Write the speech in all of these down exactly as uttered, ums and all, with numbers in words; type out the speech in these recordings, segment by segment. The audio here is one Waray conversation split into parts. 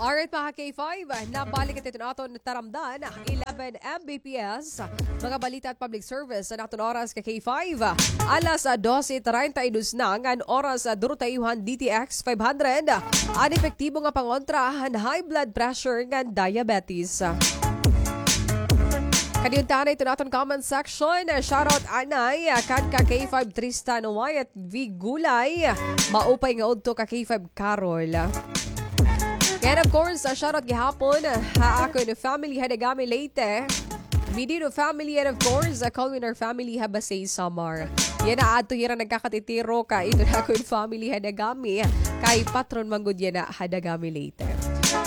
Alright, mga K five, nabalik ito aton taramdan, eleven M B P S, mga balita at public service sa naton oras ka K five. Alas dose treinta y dos na ngan oras, duro ta iyo han D T X five hundred. An epektibo nga pangontra han high blood pressure ngan diabetes. Kadiuntahan na ito naton comment section. Shoutout anay kan ka K five Tristan Wyatt V Gulay. Maupay nga udto ka K five Carol. And of course, uh, shoutout gihapon ha akon family ha Dagami, Leyte. Midino family and of course, uh, Colwiner family ha Basey, Samar. Yana adto hira nagkakatitiro ka ito na akon family ha Dagami. Kay patron man gud yana ha Dagami, Leyte.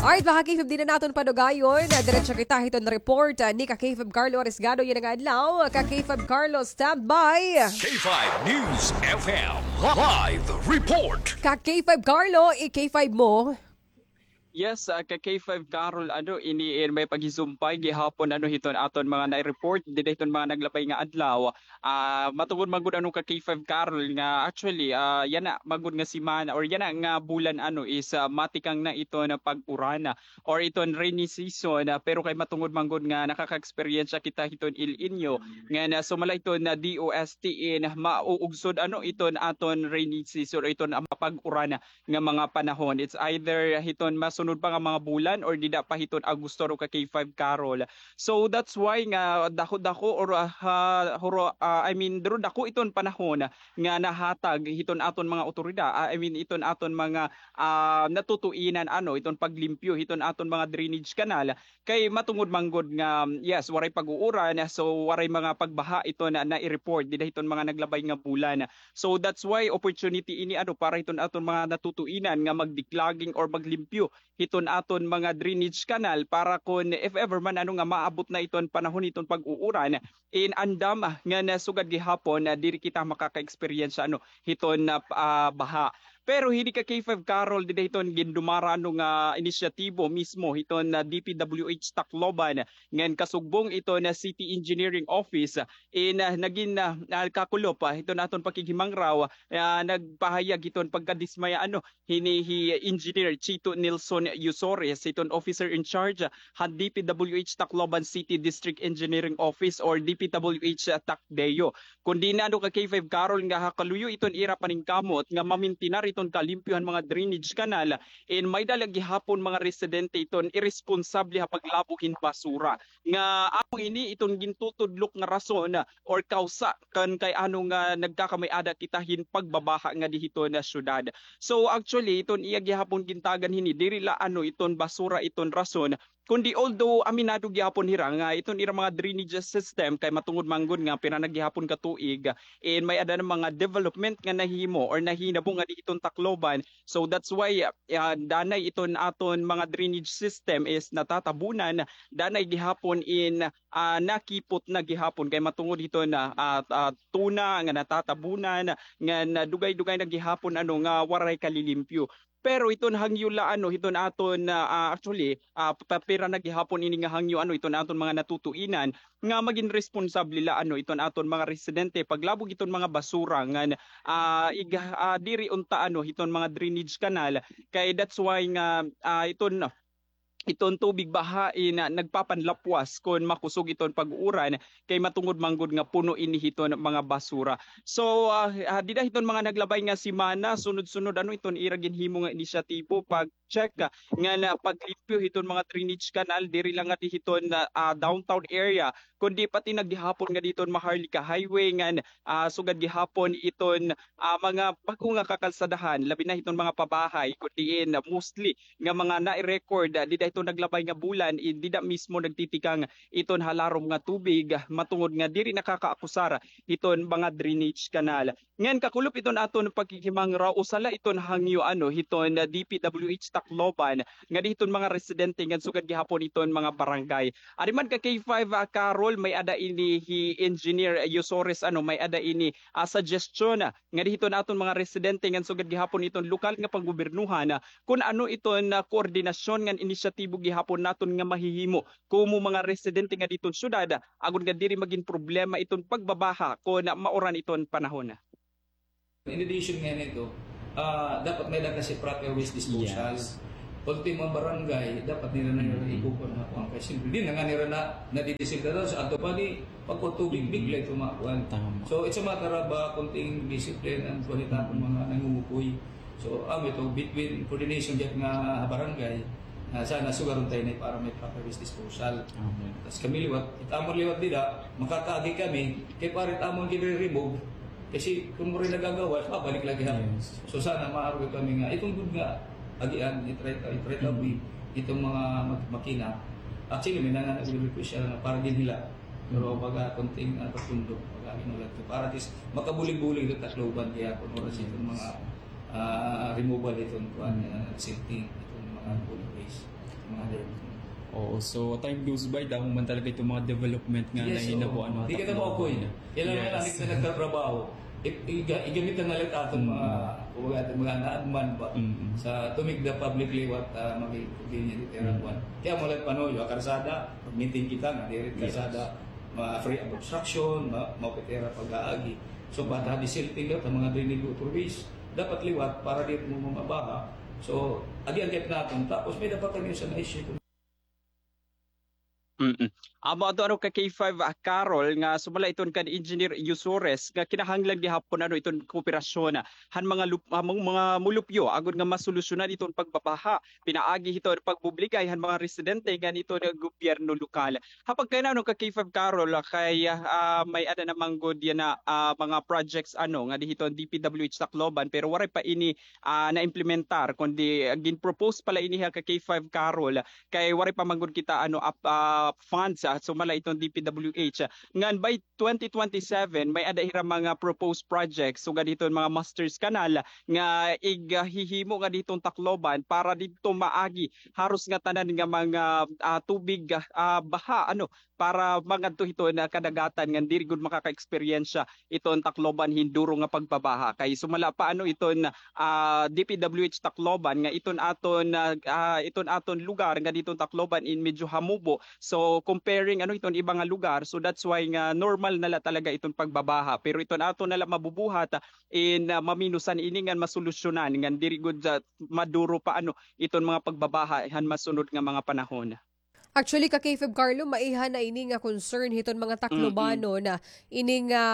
Alright, mga K five, di na naton padugayon. Uh, diretso kita hiton report, uh, ni ka K five Carlo Arisgado yana nga adlaw. Ka K five Carlo, standby. K five News F M live report. Ka K five Carlo, i-K five mo. Yes, ah, ka K five Carol, ano, ini, eh, may paghisumpay gihapon, ano, hiton aton mga na-report dida hiton mga naglabay nga adlaw. Ah, matungod man gud, ano, ka K five Carol, nga actually, ah, yana man gud nga semana or yana nga bulan, ano, is, ah, matikang na iton pag-uran, ah, or iton rainy season, ah, pero kay matungod man gud nga nakaka-experience kita hiton El Niño, nga na sumala iton D O S T in mauugsod, ano, iton aton rainy season or iton, ah, pag-uran, ah, nga mga panahon. It's either hiton masunod pa nga mga bulan or dida pa hiton Agosto, ro ka K five Carol. So that's why nga dako-dako or, ah, ha, huro, ah, I mean, duro dako iton panahon nga nahatag hiton aton mga otoridad, ah, I mean, iton aton mga, ah, natutuinan, ano, iton paglimpyo hiton aton mga drainage canal. Kay matungod man gud nga, yes, waray pag-uuran, so waray mga pagbaha iton na, na-report dida hiton mga naglabay nga bulan. So that's why opportunity ini, ano, para hiton aton mga natutuinan nga mag-declogging or maglimpyo hiton aton mga drainage canal para kon if ever man, ano, nga maabot na iton panahon hiton pag-uuran, in andam, ah, nga na sugad gihapon, ah, diri kita makaka-experience, ano, hiton, ah, p-, ah, baha. Pero hini ka K five Carol, dida hiton gindumara, ano, nga inisyatibo mismo hiton, ah, D P W H Tacloban, ngan kasugbong iton, ah, City Engineering Office, ah, in, ah, nagin, ah, ah, kakulop, ah, hiton aton pakighimangraw, ah, nagpahayag hiton pagkadismaya, ano, hini hi Engineer Chito Nelson Yusores, hiton officer in charge, ah, han D P W H Tacloban City District Engineering Office or D P W H, ah, TACDEO. Kundi na, ano, ka K five Carol, nga ha kaluyo iton ira paningkamot nga mamintinar iton kalimpyo han mga drainage canal, in may-ada la gihapon mga residente iton iresponsable ha paglabo hin basura. Nga amo ini iton gintutudlok nga rason or kawsa kan kay ano nga nagkakamay-ada kita hin pagbabaha ngadi hiton syudad. So actually, iton iya gihapon gintagan hini, diri la, ano, iton basura iton rason, kundi although aminado gihapon hira nga iton ira mga drainage system kay matungod man gud nga pira na gihapon ka tuig, and may-ada na mga development nga nahimo or nahinabo ngadi hiton Tacloban. So that's why, ah, danay iton aton mga drainage system is natatabunan, danay gihapon in, ah, nakipot na gihapon kay matungod hiton, ah, ah, tuna nga natatabunan, nga na dugay-dugay na gihapon, ano, nga waray kalilimpyo. Pero iton hangyo la, ano, hiton aton, ah, ah, actually, ah, pa-, pira na gihapon ini nga hangyo, ano, iton aton mga natutuinan nga magin responsable la, ano, iton aton mga residente paglabo hiton mga basura ngan, ah, ig-, ah, diri unta, ano, hiton mga drainage canal. Kay that's why nga, ah, iton iton tubig baha in, ah, nagpapanlapwas kon makusog iton pag-uuran, kay matungod man gud nga puno ini hiton mga basura. So, ah, ah, dida hiton mga naglabay nga semana, sunod-sunod, ano, iton ira ginhimo nga inisyatibo pag-check, ah, nga na paglimpyo hiton mga drainage canal, diri lang ngadi hiton, ah, ah, downtown area, kundi pati na gihapon ngadi hiton Maharlika Highway ngan, ah, sugad gihapon iton, ah, mga bag-o nga kakalsadahan, labi na hiton mga pabahay, kun diin, ah, mostly nga mga nai-record, ah, dida hiton naglabay nga bulan, in dida mismo nagtitikang iton halarom nga tubig, ah, matungod nga diri nakakaakusar hiton mga drainage canal. Ngan kakulop iton aton paghihimangraw, usa la iton hangyo, ano, hiton, ah, D P W H Tacloban, ngadi hiton mga residente ngan sugad gihapon iton mga barangay. Ari man ka K five, ah, Carol, may-ada ini hi Engineer Yusores, ano, may-ada ini, ah, suggestion, ah, ngadi hiton aton mga residente ngan sugad gihapon iton lokal nga panggobyernohan, ah, kun ano iton, ah, koordinasyon ngan inisyatibo gihapon naton nga mahihimo komo mga residente ngadi hiton syudad, ah, agod nga diri magin problema iton pagbabaha kon mauran iton panahon. In addition nga nito, ah, dapat may-ada kasi proper waste disposal. Yes. Ultimo, mga barangay, dapat nira na nira ikukuan nga kuan. Kay siyempre, di na nga nira na, nadidisil ka daw sa ato pa, di, pagkutubig, bigla ito makuan. Tama. So, it's a matter of, ah, konting discipline and kuan it aton mga nangungukoy. So, ah, may to between coordination dyan nga barangay, ah, sana sugaron tayo na para may proper waste disposal. Amen. Tas kami liwat, it amon liwat dida, makakaagi kami, kay para it amon gini-remove, kasi kung mura nagagawa, babalik lagi ha. Yes. So sana maaro kami nga, itong good nga, agian, itry, itry ta, itong mga mak-, makina. Actually, may nanga nag-request siya nga para din hila. Pero baga konting, ah, pagtundok, baga ano lang to. Para at least, makabulig-bulig ito Tacloban, kaya kung oras itong mga, ah, removal itong, kuan, ah, silting, itong mga bulk waste, mga ganyan. Oo, so time goes by, damo man talaga itong mga development nga nahinabo, ano. Di kita maukoy. Kailangan lang kita nagtatrabaho. I-, iga-, igamit na nga lang aton mga, kumbaga, aton mga naagman ba sa tumig na public liwat, ah, maging convenient ito yung kuan. Kaya mo lang panuyo, ah, karsada, pag-maintain kita nga, diri karsada, ma-free of obstruction, ma-, maupit ira pag-aagi. So, bata di silting daw, ta mga drainage waterways, dapat liwat para di mo mabaha. So, agi ang gap natin. Tapos, may dapat kami sa na-issue. Mm. Amo ato, ano, ka K five, ah, Carol, nga sumala iton kan Engineer Yusores nga kinahanglan gihapon, ano, iton kooperasyon, ah, han mga lup-, ah, mga, mga mulupyo agod nga masolusyonan iton pagbabaha pinaagi hiton pagbubligay han mga residente ngan iton gobyerno lokal. Ha pagkayana, ano, ka K five Carol, ah, kay, ah, may-ada naman gud yana, ah, mga projects, ano, nga diri hiton D P W H Tacloban, pero waray pa ini, ah, na-implementar, kundi, ah, gin-propose pa la ini ha ka K five Carol, kay waray pa man gud kita, ano, ap-, ah, funds, ah, sumala iton D P W H. Ngan by twenty twenty-seven, may-ada hira mga proposed projects, sugad hiton mga Masters Canal nga ig-, ah, hihimo nga diton Tacloban para didto maagi haros nga tanan nga mga, ah, tubig, ah, baha, ano, para mangadto hiton kadagatan ngan diri gud makaka-eksperyensya iton Tacloban hin duro nga pagbabaha. Kay sumala pa, ano, iton, ah, D P W H Tacloban nga iton aton, ah, ah, iton aton lugar nga diton Tacloban in medyo hamubo. So, comparing, ano, iton iba nga lugar, so that's why nga normal na la talaga iton pagbabaha. Pero iton aton na la mabubuhat, ah, in, ah, maminusan ini ngan masolusyonan ngan diri gud, ah, maduro pa, ano, iton mga pagbabaha han masunod nga mga panahon. Actually, ka K five Carlo, maiha na ini nga concern hiton mga Taclobanon na ini nga,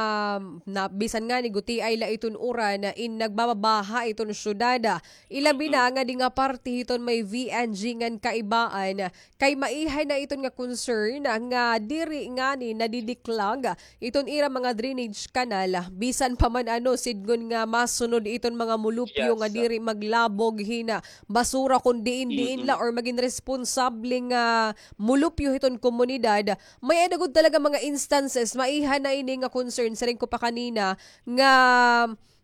na, bisan ngani gutiay la iton uran, in nagbababaha iton syudad. Ilabi na ngadi nga parte hiton may V N G ngan Kaibaan, kay maiha na iton nga concern nga diri ngani nadidiklag iton ira mga drainage canal, bisan pa man, ano, sidngon nga masunod iton mga mulupyo nga diri maglabog hin basura kon diin-diin la or magin responsable nga mulupyo hiton komunidad. May-ada gud talaga mga instances, maiha na ini nga concern, siring ko pa kanina, nga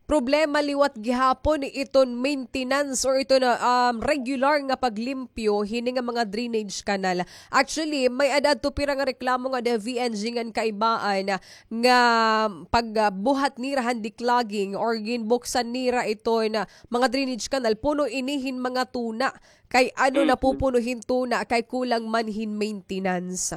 problema liwat gihapon iton maintenance or iton, um, regular nga paglimpyo hini nga mga drainage canal. Actually, may-ada adto pira nga reklamo nga the V N G ngan Kaibaan nga pagbuhat nira han declogging or ginbuksan nira iton mga drainage canal, puno ini hin mga tuna. Kay ano napupuno hin tuna, kay kulang man hin maintenance.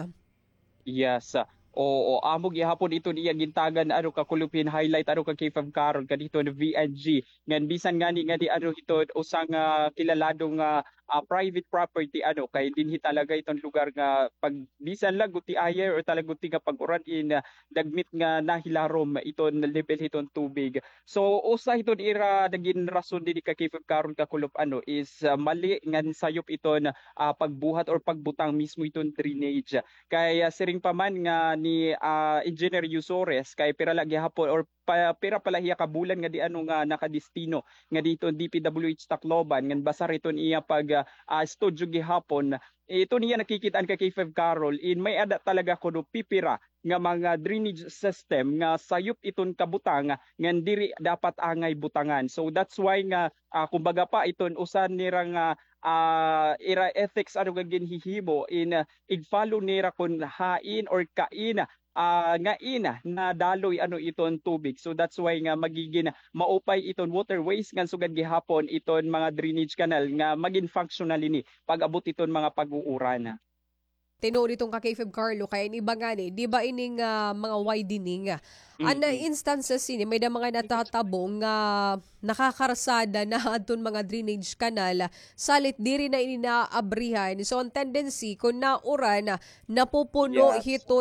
Yes. Oo, amo gihapon iton iya gintagan, ano, ka Kulop, hin highlight, ano, ka K five Carol, kadto hiton V N G. Ngan bisan ngani nga di, ano, hiton usa nga kilalado nga, ah, private property, ano, kay dinhi talaga iton lugar nga pag bisan la gutiay or talaga guti nga pag-uran in, ah, dagmit nga nahilarom iton level hiton tubig. So, usa hiton ira nagin rason dinhi ka K five Carol, ka Kulop, ano, is, ah, mali ngan sayop iton, ah, pagbuhat or pagbutang mismo iton drainage. Kay, ah, siring pa man nga ni, ah, Engineer Yusores, kay pira la gihapon or pa, pira pa la hiya ka bulan nga di, ano, nga nakadestino nga diton D P W H Tacloban, ngan basar iton iya pag, ah, ah, studio gihapon. Iton iya nakikit-an ka K five Carol, in may-ada talaga kuno pipira nga mga drainage system nga sayop iton kabutang ngan diri dapat angay butangan. So that's why nga, ah, kumbaga pa, iton usa nira nga, ah, ira ethics, ano, nga ginhihimo in, ah, ig-follow nira kon hain or kain, ah, ngain nadaloy, ano, iton tubig. So that's why nga magigin maupay iton waterways ngan sugad gihapon iton mga drainage canal nga magin functional ini pag-abot iton mga pag-uuran. tinuod iton ka K five Carlo, kay an iba ngani, di ba ining, ah, mga widening, ah, an, ah, instances ini, may da mga natatabo nga nakakarsada na adton mga drainage canal, salit diri na ini naaabrihan. So, an tendency, kung nauran, napupuno hito